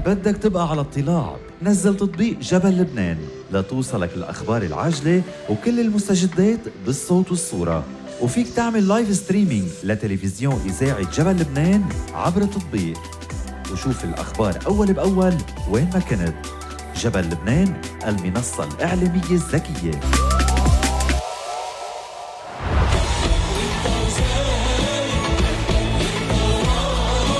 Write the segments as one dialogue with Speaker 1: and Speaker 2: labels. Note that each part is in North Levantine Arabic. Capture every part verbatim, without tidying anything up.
Speaker 1: بدك تبقى على اطلاع، نزل تطبيق جبل لبنان لتوصلك الأخبار العاجلة وكل المستجدات بالصوت والصورة. وفيك تعمل لايف ستريمينج لتلفزيون إذاعة جبل لبنان عبر التطبيق، وشوف الأخبار أول بأول وين ما كنت. جبل لبنان، المنصة الإعلامية الذكية.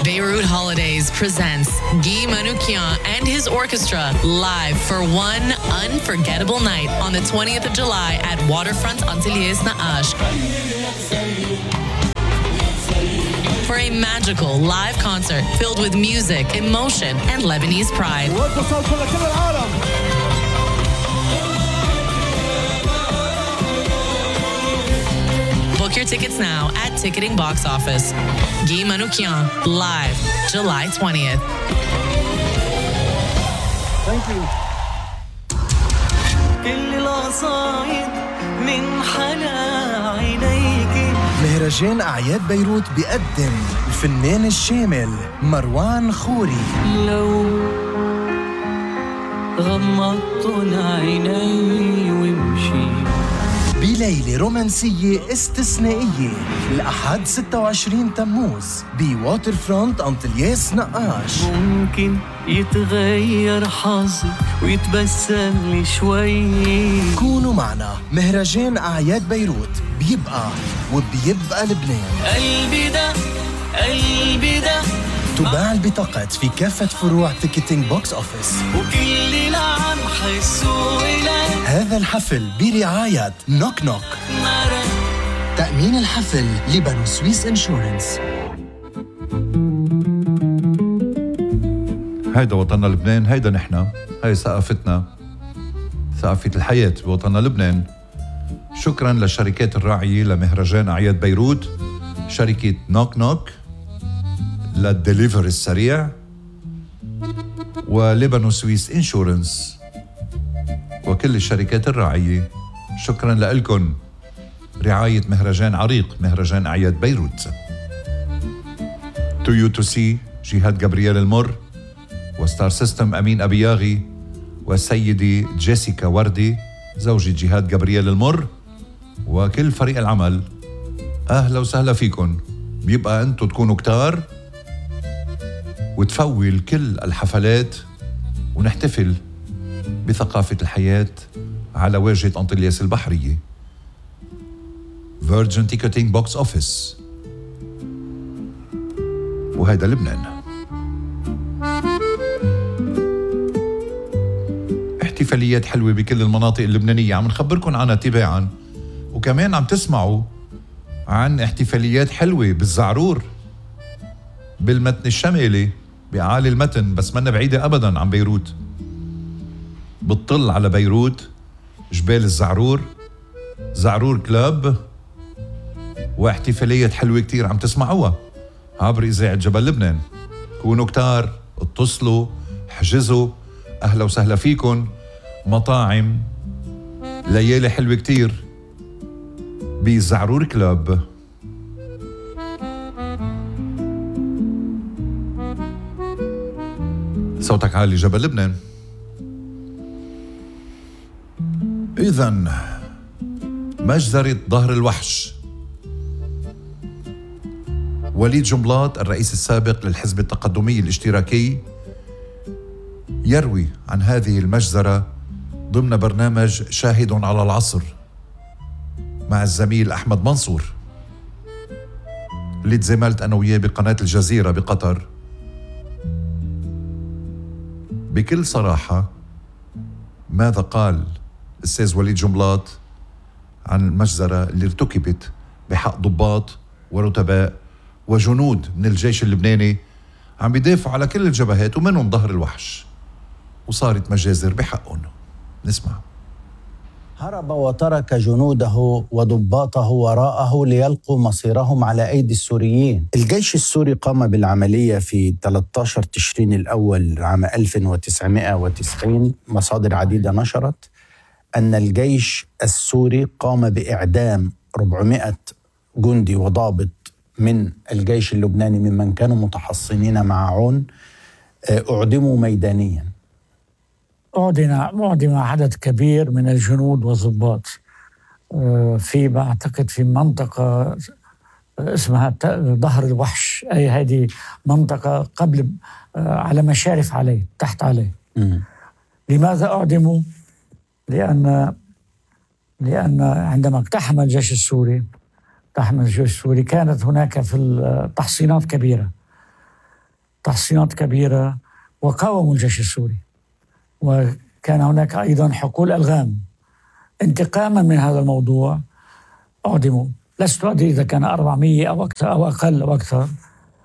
Speaker 2: Beirut Holidays presents Guy Manoukian and his orchestra live for one unforgettable night on the twentieth of July at Waterfront Antilles Naash. For a magical live concert filled with music, emotion, and Lebanese pride. Book your tickets now at Ticketing Box Office. Guy Manoukian, live, July twentieth.
Speaker 3: Thank you. كل القصايد من حلا عينيك.
Speaker 4: مهرجان أعياد بيروت بيقدم الفنان الشامل مروان خوري.
Speaker 3: لو غمضت عيني ومشي
Speaker 4: بليلة رومانسية استثنائية الأحد ستة وعشرين تموز بواتر فرونت أنطلياس نقاش.
Speaker 3: ممكن يتغير حظي ويتبسم لي شوي.
Speaker 4: كونوا معنا، مهرجان أعياد بيروت بيبقى وبيبقى لبنان.
Speaker 3: قلبي ده قلبي ده
Speaker 4: تباع البطاقات في كافة فروع تيكتينج بوكس أوفيس.
Speaker 3: وكل اللي عم حسوا إلي
Speaker 4: هذا الحفل برعاية نوك نوك.
Speaker 3: مرة
Speaker 4: تأمين الحفل لبنو سويس إنشورنس.
Speaker 5: هيدا وطننا لبنان، هيدا نحنا، هاي ثقافتنا، ثقافة الحياة بوطننا لبنان. شكراً للشركات الراعية لمهرجان أعياد بيروت، شركة نوك نوك للدليفر السريع، ولبنو سويس إنشورنس، وكل الشركات الراعية. شكراً لكم رعاية مهرجان عريق، مهرجان أعياد بيروت. تويو تو سي جهاد جابرييل المر، وستار سيستم أمين أبياغي، وسيدي جيسيكا وردي زوجة جهاد جابرييل المر، وكل فريق العمل. أهلا وسهلا فيكم. بيبقى أنتوا تكونوا كتار وتفول كل الحفلات ونحتفل بثقافة الحياة على واجهة أنطلياس البحرية. Virgin Ticketing Box Office، وهيدا لبنان. احتفاليات حلوة بكل المناطق اللبنانية عم نخبركن عنها تباعاً، وكمان عم تسمعوا عن احتفاليات حلوة بالزعرور، بالمتن الشمالي، بأعالي المتن، بس منا بعيدة أبداً عن بيروت. بتطل على بيروت جبال الزعرور، زعرور كلاب، واحتفاليات حلوة كتير عم تسمعوها عبر إذاعة جبل لبنان. كونوا كتار، اتصلوا، حجزوا. أهلا وسهلا فيكن. مطاعم، ليالي حلوة كتير بزعرور كلاب. صوتك عالي جبل لبنان. إذن مجزرة ظهر الوحش. وليد جنبلاط الرئيس السابق للحزب التقدمي الاشتراكي يروي عن هذه المجزرة ضمن برنامج شاهد على العصر مع الزميل أحمد منصور اللي تزاملت أنا وياه بقناة الجزيرة بقطر. بكل صراحة ماذا قال الأستاذ وليد جنبلاط عن المجزرة اللي ارتكبت بحق ضباط ورتباء وجنود من الجيش اللبناني عم بيدافعوا على كل الجبهات ومنهم ظهر الوحش، وصارت مجازر بحقهم. نسمع.
Speaker 6: هرب وترك جنوده وضباطه وراءه ليلقوا مصيرهم على أيدي السوريين. الجيش السوري قام بالعملية في ثلاثة عشر تشرين الأول عام ألف وتسعمائة وتسعين. مصادر عديدة نشرت أن الجيش السوري قام بإعدام أربعمائة جندي وضابط من الجيش اللبناني ممن كانوا متحصنين مع عون أعدموا ميدانيا.
Speaker 7: أعدم أعدم عدد كبير من الجنود والضباط في بعتقد في منطقة اسمها ظهر الوحش، أي هذه منطقة قبل على مشارف عليه تحت عليه. م. لماذا أعدموا؟ لأن لأن عندما اقتحم الجيش السوري اقتحم الجيش السوري كانت هناك في التحصينات كبيرة تحصينات كبيرة وقاوموا الجيش السوري، وكان هناك أيضا حقول ألغام. انتقاما من هذا الموضوع أعدموا. لست أدري إذا كان أربعمية أو أكثر أو أقل أو أكثر.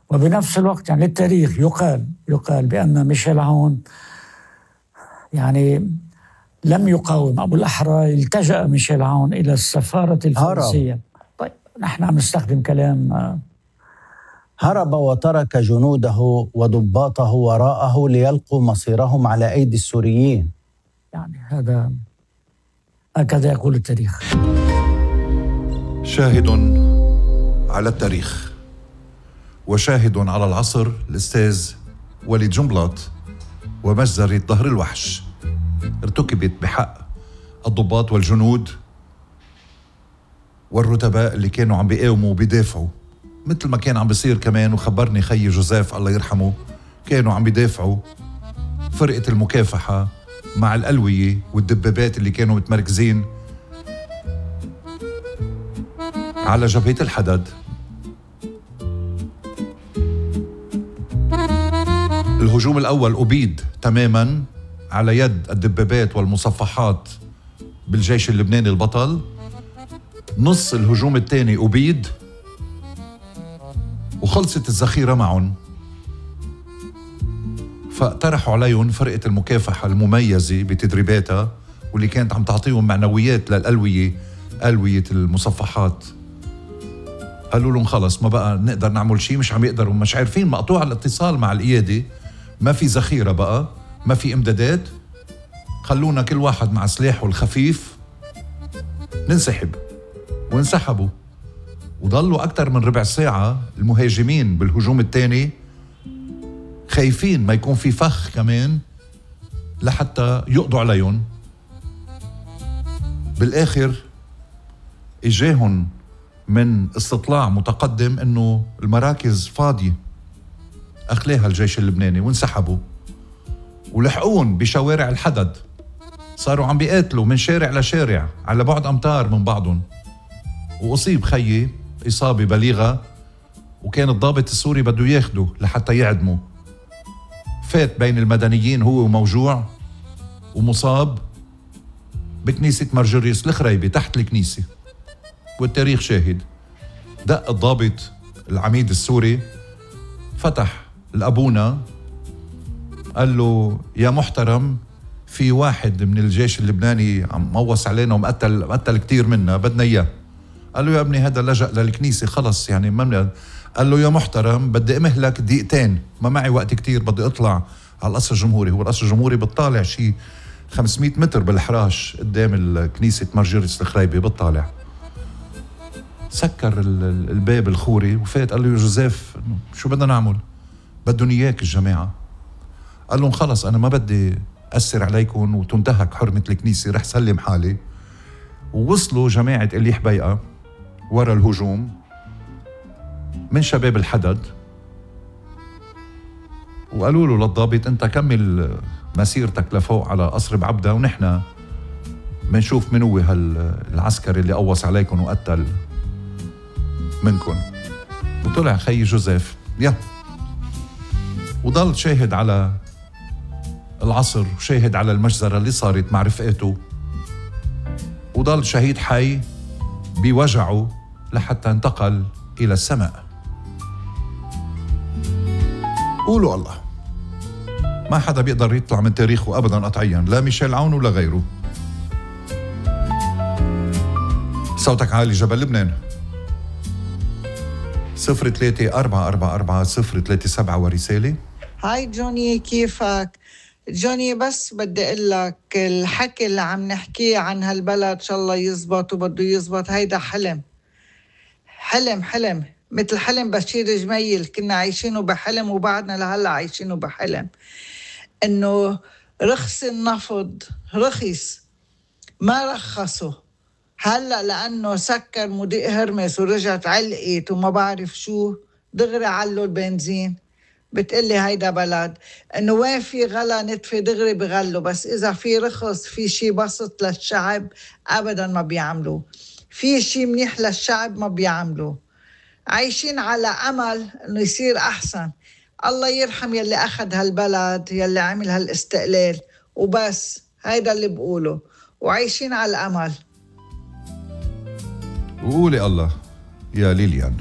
Speaker 7: وبنفس الوقت يعني للتاريخ يقال يقال بأن ميشيل عون يعني لم يقاوم، أو بالأحرى التجأ ميشيل عون إلى السفارة الفرنسية. طيب نحن عم نستخدم كلام.
Speaker 6: هرب وترك جنوده وضباطه وراءه ليلقوا مصيرهم على أيدي السوريين.
Speaker 7: يعني هذا هكذا يقول التاريخ.
Speaker 5: شاهد على التاريخ وشاهد على العصر الأستاذ وليد جنبلاط ومجزرة ظهر الوحش ارتكبت بحق الضباط والجنود والرتباء اللي كانوا عم بيقاوموا وبيدافعوا، مثل ما كان عم بيصير كمان. وخبرني خي جوزيف الله يرحمه كانوا عم بيدافعوا فرقة المكافحة مع الألوية والدبابات اللي كانوا متمركزين على جبهة الحدد. الهجوم الأول أبيد تماماً على يد الدبابات والمصفحات بالجيش اللبناني البطل. نص الهجوم الثاني أبيد وخلصت الذخيرة معهم، فاقترحوا عليهم فرقة المكافحة المميزة بتدريباتها واللي كانت عم تعطيهم معنويات للألوية ألوية المصفحات. قالوا لهم خلص ما بقى نقدر نعمل شيء، مش عم يقدروا، مش عارفين، مقطوع الاتصال مع القيادة، ما في ذخيرة بقى، ما في امدادات، خلونا كل واحد مع سلاحه الخفيف ننسحب. وانسحبوا وضلوا أكثر من ربع ساعة المهاجمين بالهجوم الثاني خايفين ما يكون في فخ كمان لحتى يقضوا عليهم. بالآخر إجاهن من استطلاع متقدم إنه المراكز فاضية، أخلاها الجيش اللبناني وانسحبوا ولحقون بشوارع الحدد. صاروا عم بيقاتلوا من شارع لشارع على بعد أمتار من بعضهم. وأصيب خيي إصابة بليغة وكان الضابط السوري بده ياخده لحتى يعدمه. فات بين المدنيين هو موجوع ومصاب بكنيسة مرجريس الخريبي تحت الكنيسة. والتاريخ شاهد. دق الضابط العميد السوري، فتح الأبونا قال له يا محترم في واحد من الجيش اللبناني عم موص علينا ومقتل مقتل كتير منا، بدنا إياه. قال له يا ابني هذا لجأ للكنيسة خلص يعني ما. قال له يا محترم بدي امهلك دقيقتين، ما معي وقت كتير، بدي اطلع على القصر الجمهوري. هو القصر الجمهوري بتطالع شي خمسمية متر بالحراش قدام الكنيسة مرجريس الخريبي، بتطالع. سكر الباب الخوري وفات قال له يا جوزيف شو بدنا نعمل؟ بدهم اياك الجماعة. قال لهم خلص انا ما بدي أثر عليكم وتنتهك حرمة الكنيسة، رح سلم حالي. ووصلوا جماعة إلي حبيقة ورا الهجوم من شباب الحدد وقالوا له للضابط انت كمل مسيرتك لفوق على قصر بعبدة ونحن منشوف من هو هالعسكري اللي قوص عليكم وقتل منكم. وطلع خي جوزيف يا وضل شاهد على العصر وشاهد على المجزرة اللي صارت مع رفقاته، وضل شهيد حي بوجعه لحتى انتقل إلى السماء. قولوا الله، ما حدا بيقدر يطلع من تاريخه أبداً قطعياً، لا ميشيل عون ولا غيره. صوتك عالي جبل لبنان. صفر ثلاثة أربعة أربعة أربعة صفر ثلاثة سبعة ورسالة.
Speaker 8: هاي جوني كيفك؟ جوني بس بدي اقول لك الحكي اللي عم نحكيه عن هالبلد ان شاء الله يزبط وبده يزبط، هيدا حلم حلم حلم مثل حلم بشير جميل كنا عايشينه بحلم وبعدنا لهلا عايشينه بحلم، إنه رخص النفط رخص ما رخصوا هلأ لأنه سكر مضيق هرمس ورجعت علقت وما بعرف شو دغري علوا البنزين. بتقلي هيدا بلد إنه وين في غلا نتفي دغري بغلوا، بس إذا في رخص في شي بسط للشعب أبداً ما بيعملوا، في شي منيح للشعب ما بيعملوا. عايشين على أمل إنه يصير أحسن. الله يرحم يلي أخذ هالبلد يلي عمل هالاستقلال وبس، هيدا اللي بقوله، وعايشين على الأمل.
Speaker 5: وقولي الله يا ليليان،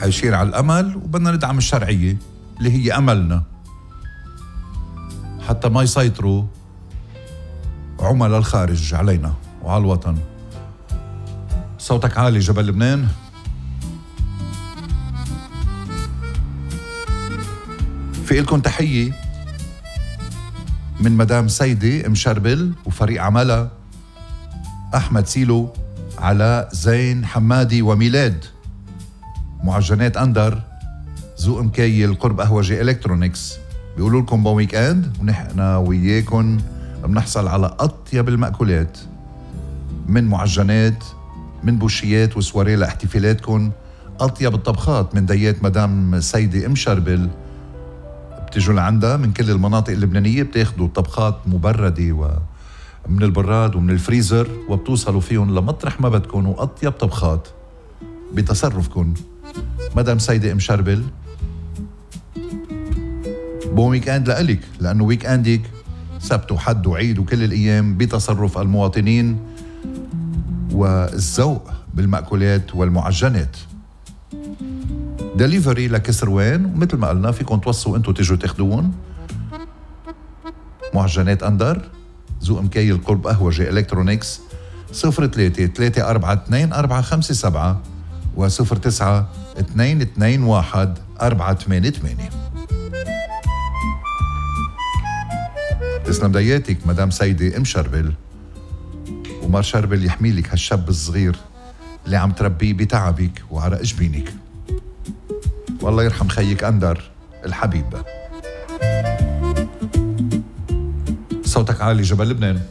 Speaker 5: عايشين على الأمل وبدنا ندعم الشرعية اللي هي أملنا حتى ما يسيطروا عملاء الخارج علينا وعلى الوطن. صوتك عالي جبل لبنان. في إلكم تحية من مدام سيدة مشربل وفريق عملها أحمد سيلو، علاء زين حمادي وميلاد، معجنات أندر، ذوق مكيل، قرب قهوجي إلكترونيكس. بيقولوا لكم بون ويك اند، ونحن وياكم بنحصل على أطيب المأكولات من معجنات، من بوشيات وسواري لاحتفالاتكم، أطيب الطبخات من ديات مدام سيدة أم شربل. بتجوا لعندها من كل المناطق اللبنانية، بتاخدوا طبخات مبردة ومن البراد ومن الفريزر وبتوصلوا فيهم لمطرح ما بدكم، وأطيب طبخات بتصرفكم. مدام سيدة أم شربل، بون ويك اند لألك، لأنه ويك اندك سبت وحد وعيد وكل الأيام بتصرف المواطنين والذوق بالمأكولات والمعجنات. دليفري لكسروان، ومثل ما قلنا فيكم توصوا انتو تجوا تاخدوهم. معجنات أندر، ذوق مكيل، قرب قهوجي إلكترونيكس. صفر ثلاثة ثلاثة أربعة اثنين أربعة خمسة سبعة وصفر تسعة اثنين اثنين واحد أربعة ثمانية ثمانية. تسلم دياتك مدام سيدة أم شربل، ومار شربل يحميلك هالشاب الصغير اللي عم تربيه بتعبك وعرق جبينك. والله يرحم خيك أندر الحبيب. صوتك عالي جبل لبنان.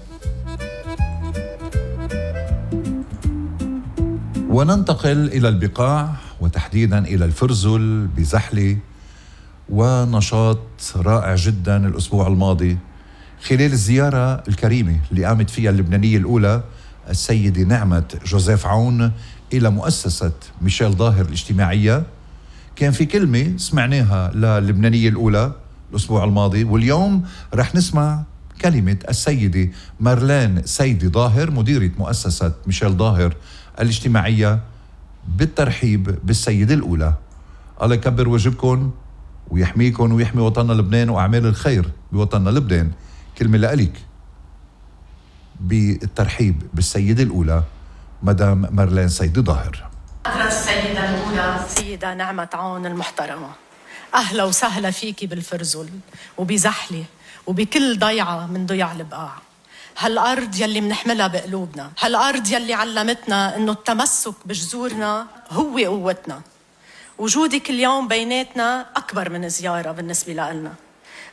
Speaker 5: وننتقل إلى البقاع وتحديدا إلى الفرزل بزحلة، ونشاط رائع جدا الأسبوع الماضي خلال الزيارة الكريمة اللي قامت فيها اللبنانية الأولى السيدة نعمة جوزيف عون إلى مؤسسة ميشيل ظاهر الاجتماعية. كان في كلمة سمعناها للبنانية الأولى الأسبوع الماضي، واليوم رح نسمع كلمة السيدة مارلين سيدي ظاهر مديرة مؤسسة ميشيل ظاهر الاجتماعية بالترحيب بالسيدة الأولى. الله يكبر وجهكم ويحميكم ويحمي وطننا لبنان وأعمال الخير بوطننا لبنان. كلمة لأليك بالترحيب بالسيدة الأولى مدام مارلين سيدي ظاهر.
Speaker 9: السيدة الأولى سيدة نعمة عون المحترمة، أهلا وسهلا فيكي بالفرزل وبزحلة وبكل ضيعة من ضيع البقاع. هالأرض يلي منحملها بقلوبنا، هالأرض يلي علمتنا إنه التمسك بجذورنا هو قوتنا. وجودك اليوم بيناتنا أكبر من زيارة بالنسبة لنا،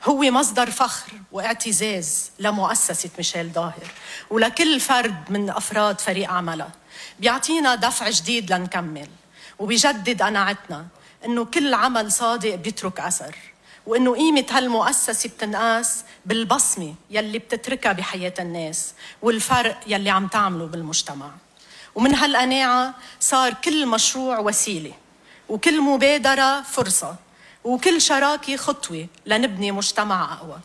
Speaker 9: هو مصدر فخر واعتزاز لمؤسسة ميشيل ظاهر ولكل فرد من أفراد فريق عملها. بيعطينا دفع جديد لنكمل، وبيجدد قناعتنا إنه كل عمل صادق بيترك أثر، وإنه قيمة هالمؤسسة بتنقاس بالبصمة يلي بتتركها بحياة الناس والفرق يلي عم تعمله بالمجتمع. ومن هالقناعة صار كل مشروع وسيلة، وكل مبادرة فرصة، وكل شراكة خطوة لنبني مجتمع أقوى.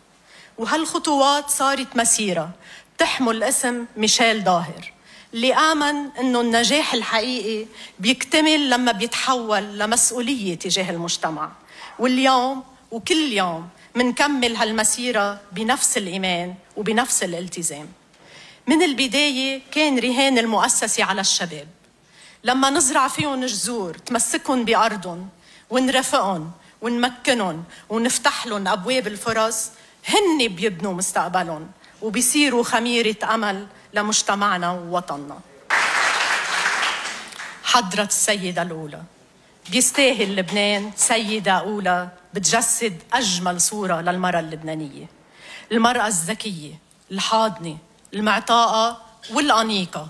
Speaker 9: وهالخطوات صارت مسيرة تحمل اسم ميشيل ظاهر، اللي آمن إنه النجاح الحقيقي بيكتمل لما بيتحول لمسؤولية تجاه المجتمع. واليوم وكل يوم منكمل هالمسيرة بنفس الإيمان وبنفس الالتزام. من البداية كان رهان المؤسسة على الشباب، لما نزرع فيهم جذور تمسكهم بأرضهم ونرافقهم ونمكنهم ونفتح لهم أبواب الفرص، هن بيبنوا مستقبلهم وبيصيروا خميرة أمل لمجتمعنا ووطننا. حضرة السيدة الأولى. بيستاهل لبنان سيدة أولى بتجسد أجمل صورة للمرأة اللبنانية، المرأة الذكية الحاضنة المعطاءة والأنيقة،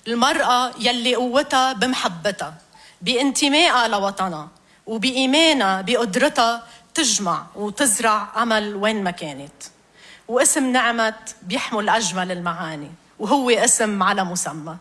Speaker 9: المرأة يلي قوتها بمحبتها، بانتمائها لوطنها، وبإيمانها بقدرتها تجمع وتزرع أمل وين ما كانت. واسم نعمت بيحمل أجمل المعاني، وهو اسم على مسمى.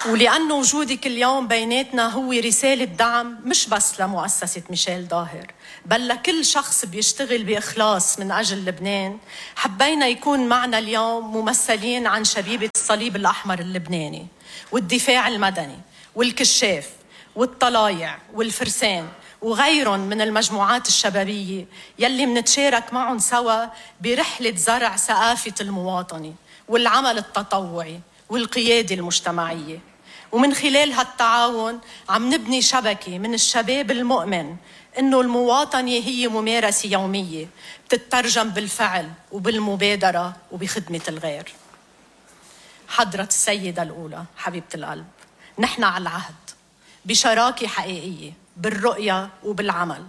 Speaker 9: ولأن وجودك اليوم بيناتنا هو رسالة دعم مش بس لمؤسسة ميشيل ظاهر، بل لكل شخص بيشتغل بإخلاص من أجل لبنان، حبينا يكون معنا اليوم ممثلين عن شبيبة الصليب الأحمر اللبناني والدفاع المدني والكشاف والطلايع والفرسان وغيرهم من المجموعات الشبابية يلي منتشارك معهم سوا برحلة زرع ثقافة المواطنة والعمل التطوعي والقيادة المجتمعية. ومن خلال هالتعاون عم نبني شبكة من الشباب المؤمن إنه المواطنة هي ممارسة يومية بتترجم بالفعل وبالمبادرة وبخدمة الغير. حضرة السيدة الأولى حبيبة القلب، نحن على العهد بشراكة حقيقية بالرؤية وبالعمل،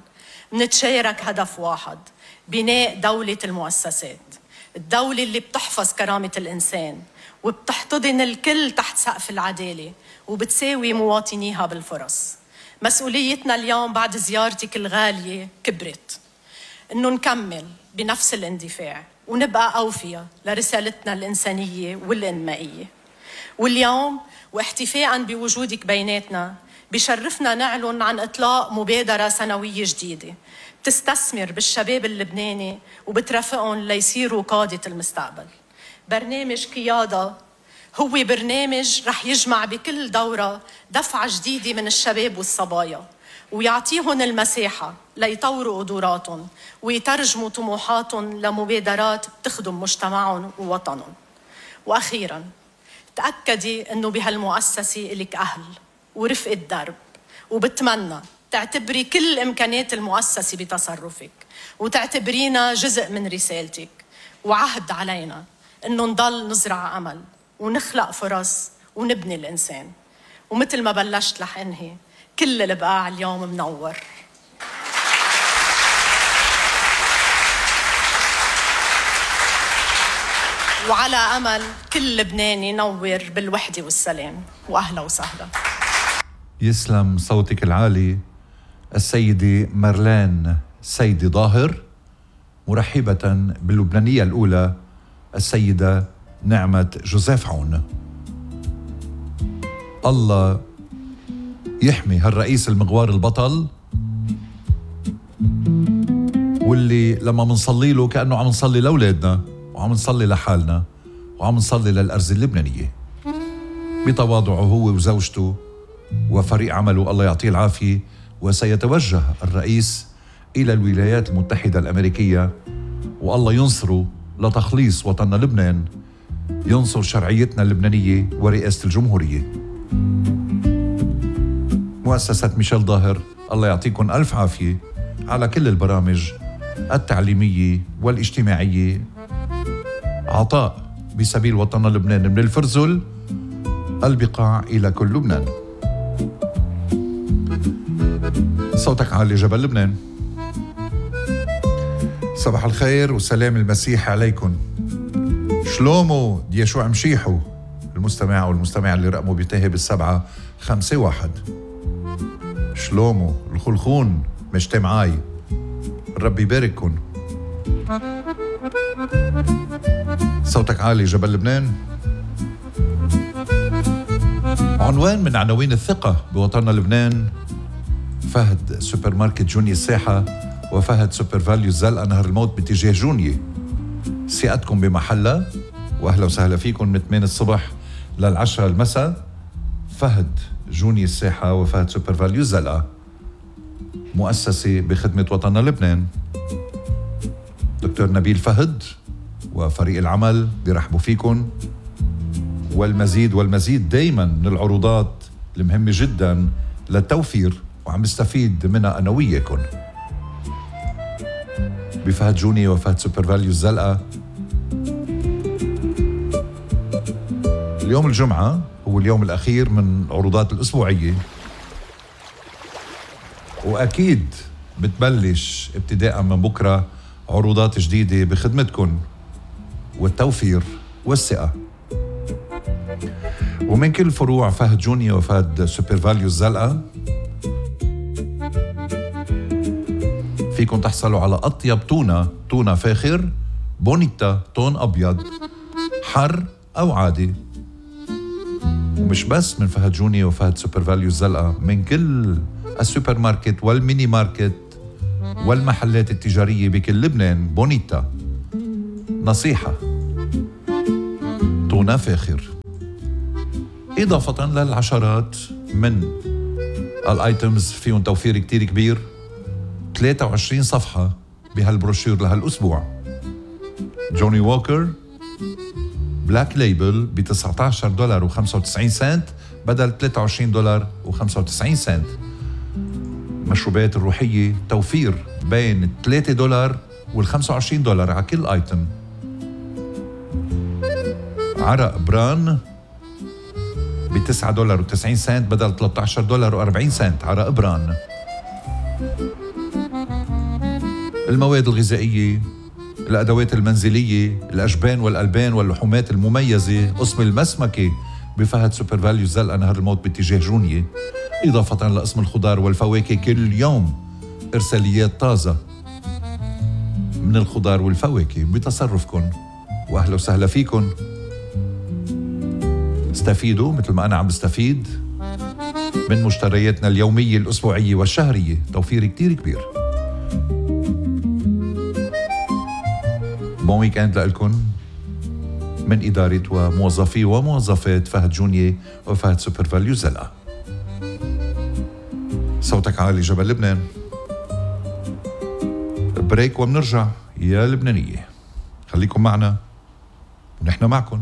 Speaker 9: نتشارك هدف واحد: بناء دولة المؤسسات، الدولة اللي بتحفظ كرامة الإنسان وبتحتضن الكل تحت سقف العدالة وبتساوي مواطنيها بالفرص. مسؤوليتنا اليوم بعد زيارتك الغالية كبرت، إنه نكمل بنفس الاندفاع ونبقى أوفياء لرسالتنا الإنسانية والإنمائية. واليوم واحتفاءً بوجودك بيناتنا بشرفنا نعلن عن إطلاق مبادرة سنوية جديدة بتستثمر بالشباب اللبناني وبترافقهم ليصيروا قادة المستقبل. برنامج قيادة هو برنامج رح يجمع بكل دورة دفعة جديدة من الشباب والصبايا ويعطيهم المساحة ليطوروا قدراتهم ويترجموا طموحاتهم لمبادرات بتخدم مجتمعهم ووطنهم. وأخيراً تأكدي أنه بهالمؤسسة إلك أهل ورفقة درب، وبتمنى تعتبري كل إمكانات المؤسسة بتصرفك وتعتبرينا جزء من رسالتك. وعهد علينا إنه نضل نزرع أمل ونخلق فرص ونبني الإنسان. ومثل ما بلشت رح أنهي، كل البقاع اليوم منور. وعلى أمل كل لبناني ينور بالوحدة والسلام. وأهلا وسهلا.
Speaker 5: يسلم صوتك العالي السيدة مارلين سيدي ظاهر، مرحبة باللبنانية الأولى السيدة نعمت جوزيف عون. الله يحمي هالرئيس المغوار البطل، واللي لما منصلي له كأنه عم نصلي لأولادنا وعم نصلي لحالنا وعم نصلي للأرز اللبنانية. بتواضعه هو وزوجته وفريق عمله الله يعطيه العافية. وسيتوجه الرئيس إلى الولايات المتحدة الأمريكية، والله ينصره لتخليص وطننا لبنان، ينصر شرعيتنا اللبنانية ورئاسة الجمهورية. مؤسسة ميشيل ظاهر الله يعطيكم ألف عافية على كل البرامج التعليمية والاجتماعية، عطاء بسبيل وطننا لبنان من الفرزل البقاع إلى كل لبنان. صوتك عالي جبل لبنان. صباح الخير وسلام المسيح عليكم. شلومو ديشوع مشيحو المستمع والمستمع اللي رقمه بينتهي بالسبعة خمسة واحد. شلومو الخلخون مشتي معاي، ربي يبارككن. صوتك عالي جبل لبنان. عنوان من عناوين الثقة بوطننا لبنان: فهد سوبر ماركت جوني الساحة وفهد سوبر فاليو الزلقة نهر الموت باتجاه جونية. ثقتكم بمحلها، وأهلا وسهلا فيكم من ثمانية الصبح للعشرة المساء. فهد جوني الساحة وفهد سوبر فاليو الزلقة، مؤسسة بخدمة وطننا لبنان. دكتور نبيل فهد وفريق العمل بيرحبوا فيكم، والمزيد والمزيد دايما من العروضات المهمة جدا للتوفير وعم يستفيد منها أنا وياكم. بفهد جوني وفهد سوبر فاليو الزلقة اليوم الجمعة هو اليوم الأخير من العروضات الأسبوعية، وأكيد بتبلش ابتداء من بكرة عروضات جديدة بخدمتكن والتوفير والثقة. ومن كل فروع فهد جونيا وفهد سوبر فاليو الزلقة فيكن تحصلوا على أطيب تونة، تونة فاخر بونيتا طون أبيض حر أو عادي. ومش بس من فهد جونيا وفهد سوبر فاليو الزلقة، من كل السوبر ماركت والميني ماركت والمحلات التجارية بكل لبنان. بونيتا نصيحة، تونة فاخر، إضافة للعشرات من الآيتمز فيهم توفير كتير كبير. ثلاثة وعشرين صفحة بهالبروشير لهالأسبوع. جوني ووكر بلاك ليبل ب تسعة عشر دولار وخمسة وتسعين سنت بدل ثلاثة وعشرين دولار وخمسة وتسعين سنت. مشروبات الروحية توفير بين ثلاثة دولار والخمسة وعشرين دولار على كل آيتم. عرق بران ب تسعة دولار وتسعين سنت بدل ثلاثة عشر دولار وأربعين سنت. عرق بران. المواد الغذائية، الأدوات المنزلية، الأجبان والألبان واللحومات المميزة، قسم المسمكة بفهد سوبر فاليو الزلقة نهر الموت باتجاه جونية، إضافة لقسم الخضار والفواكه. كل يوم إرساليات طازة من الخضار والفواكه بتصرفكن، وأهلا وسهلا فيكن. استفيدوا مثل ما أنا عم بستفيد من مشترياتنا اليومية الأسبوعية والشهرية. توفير كتير كبير. بون ويكند لكم من إدارة وموظفي وموظفات فهد جونية وفهد سوبر فاليو زلقة. صوتك عالي جبل لبنان. بريك ومنرجع يا لبنانية. خليكم معنا ونحن معكم.